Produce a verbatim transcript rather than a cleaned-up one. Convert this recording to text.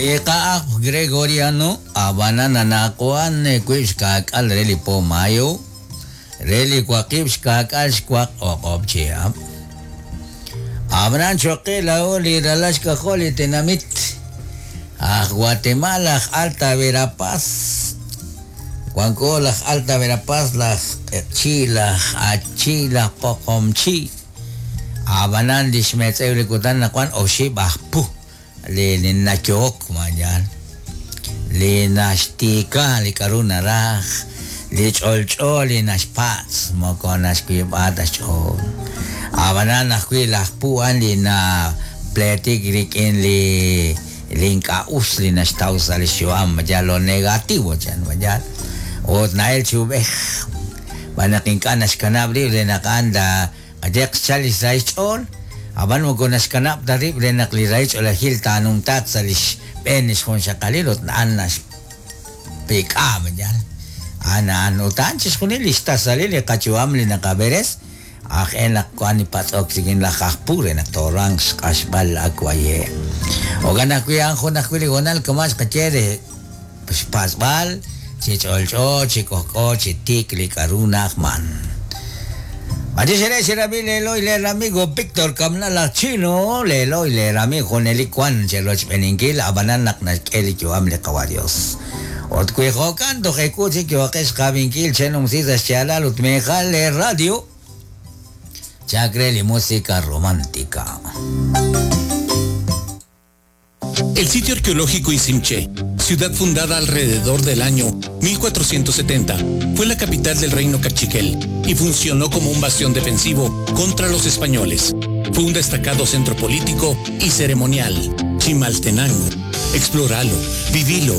Iqa'aj Gregoriano ab'anan anaqwan wiib' xkaak'al re li po mayo re li waqib' xkaak'al xwaq o'q'ob' chihab'. Ab'anan choqe laa'o li ralal xk'ajol li tenamit aj Guatemala aj Alta Verapaz wanko laj Alta Verapaz laj Q'eqchi laj Achi laj Poqomchi ab'anan li xmetz'ew li kutan naqwan oxib' aj pu li li nayohok mañan li naxtiika li k'aru naraj li ch'olch'o li naxpatz' moko naxwiib'a ta xch'ool ab'anan ajwi' laj pu a'an li napleetik rik'in li li ink'a' us li naxtaw sa' li xyu'am ya lo negativo chan mañan ut na'el chi ub'ej xb'aan naq ink'a' naxkanab' rib' re naq a'an qayeq xchal li xsahil xch'ool ab'an moko naxkanab' ta rib' re naq li rahil ch'oolejil taanumtaaq sa' li xb'een li xjunxaqalil ut a'an naxpik'a mañan a'an a'an ut a'an chixjunil li xtasalil li qayu'am li naqab'eres aj e naq wan li patz'ok rik'in laj aj pu re naq tooruhanq xq'axb'al akwaye' jo'kan ajwi' a'an jun ajwi' li hoonal kama' xqaye re xpatz'b'al chi ch'olch'o chi k'ojk'o chi tiik li k'aru na'ajman. Achi xerab'i leeloy leer amigo Víctor Kamna laj Chino leeloy leer amigo junelik wan cherochb'eninkil ab'anan naq naxk'e li yu'am li qawa Dios. Ut wi jo'kan toj eku chik yo'qex xqab'inkil chenumsi sa' xyaalal ut meejal le radio chak re li música romántica. El sitio arqueológico Iximché, ciudad fundada alrededor del año mil cuatrocientos setenta, fue la capital del reino Cachiquel y funcionó como un bastión defensivo contra los españoles. Fue un destacado centro político y ceremonial. Chimaltenango. Explóralo, vivilo.